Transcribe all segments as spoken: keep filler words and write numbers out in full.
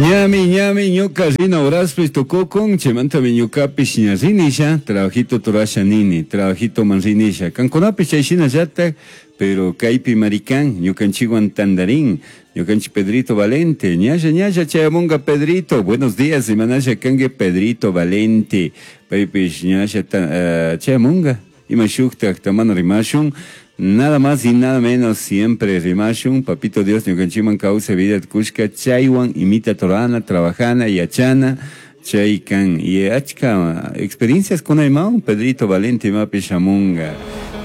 Ñami, ñami, ñuka rina horaspis tukukun, chaymantami ñukapish ña rinisha, trabajito turasha nini, trabajito man rinisha. Kankunapish chay shinallatak, pero kaypi marikan, ñukanchikwan tandarin, ñukanchik Pedrito Valente, ñalla, ñalla chayamunga Pedrito, buenos días, imanasha kanki Pedrito Valente, paypish ñalla uh, chayamunga, ima shuktak tamana rimashun. Nada más y nada menos, siempre rimashun, papito Dios, ñukanchikman kawsay vida kushka, chaywan imita torana, trabajana, yachana, chaykan, y achka experiencias con imawan, Pedrito Valente imapi shamunga,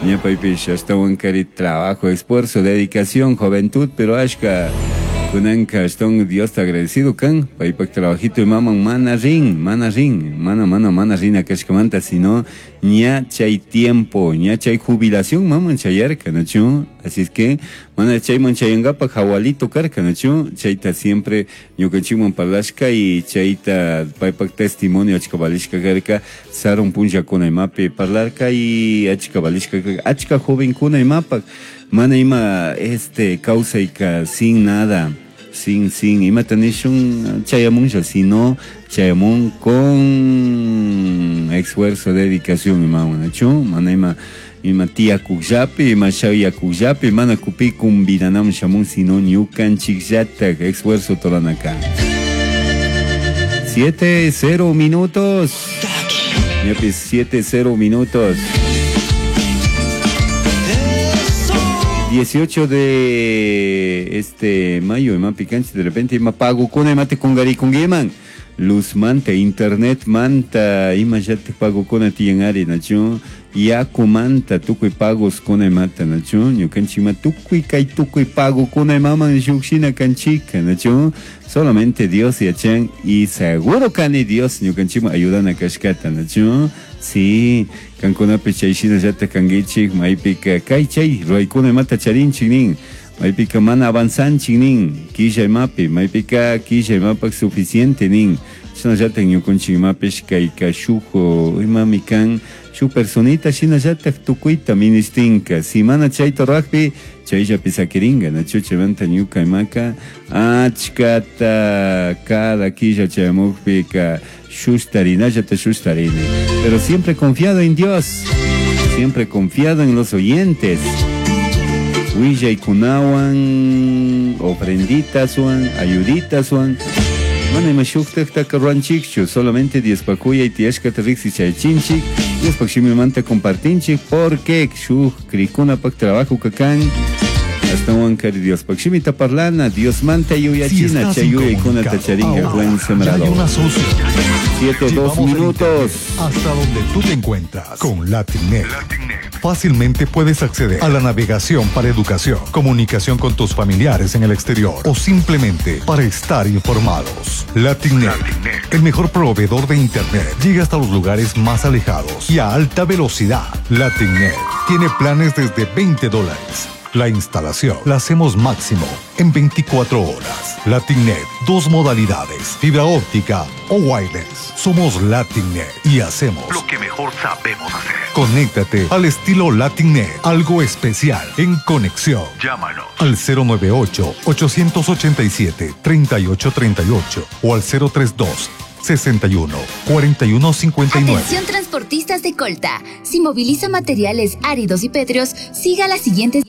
ña paypish ashtawan kari trabajo, esfuerzo, dedicación, juventud, pero achka kunanka ashtawan Dios ta agradecido kan, paypak trabajito imaman mana rin, mana rin, mana, mana, mana rina kashkamanta, sino ña chay tiempo, ña chay jubilación maman chayarka, ¿no? Así es que, mana chayman chayangapak jawalito karka, ¿no? Chayta siempre ñukanchikman parlashka y chayta paypak testimonio achka valishka karka, sarun punllakuna imapi parlarka y achka valishka karka, achka jovenkuna imapak, mana ima este kawsayka sin nada, sin, sin, imata nishun chayamunlla, sino chayamun con esfuerzo, dedicación, ima nachu, mana ima, ima tiyakukllapi, ima shayakukllapi, mana kupi kumbinanam shamun, sino ñukanchikllatak esfuerzo toranaka. Siete cero minutos. Ñapis, siete cero minutos. dieciocho de este mayo, ima picanchi, de repente ima pago kuna ima te kungari kungiman. Luz manta, internet manta, ima ya te pago kuna tiyan ari, nachu, yaku manta, tukuy pagos kuna imata, nachu, ñukanchik ima tukuy kay tukuy pago kuna imaman shukshina kanchika, nachu, solamente Dios yachan y seguro kani Dios ñukanchikman ayudana kashkata, nachu, sí, kankunapi chayshina llata kankichik, maypika kay chay ruwaykuna imata charinchik nin, maypika mana avanzanchik nin, killa imapi, maypika killa imapak suficiente nin, shinallatak ñukanchik imapish kayka shuk imami kan, shuk personita shinallatak tukuyta ministinka, si mana chayta rurakpi chayllapi sakiringa, nachu, chaymanta ñuka imaka achkata cada killa chayamukpika shustarinallata shustarini, pero siempre confiado en Dios, siempre confiado en los oyentes. Willaykunawan, ofrenditaswan, ayuditaswan, mana ima shuktaktaka ruwanchikchu, solamente Diospakuyay tiyashkata riqsichaychinchik, Diospak shimimanta compartinchik, porque shuk krikunapak trabajo kakan, ashtawan kari Diospак shimita parlana, Diosmanta yuyachina, Si chay yuyaykunata charinka Juan Sembrador. Siete, dos minutos. Hasta donde tú te encuentras con LatinNet. Fácilmente puedes acceder a la navegación para educación, comunicación con tus familiares en el exterior o simplemente para estar informados. LatinNet, el mejor proveedor de internet, llega hasta los lugares más alejados y a alta velocidad. LatinNet tiene planes desde veinte dólares. La instalación la hacemos máximo en veinticuatro horas. LatinNet, dos modalidades, fibra óptica o wireless. Somos LatinNet y hacemos lo que mejor sabemos hacer. Conéctate al estilo LatinNet, algo especial en conexión. Llámanos al cero nueve ocho, ochocientos ochenta y siete, treinta y ocho treinta y ocho o al cero tres dos, sesenta y uno, cuarenta y uno, cincuenta y nueve. Atención transportistas de Colta, si moviliza materiales áridos y pétreos, siga las siguientes.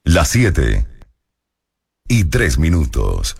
Las siete y tres minutos.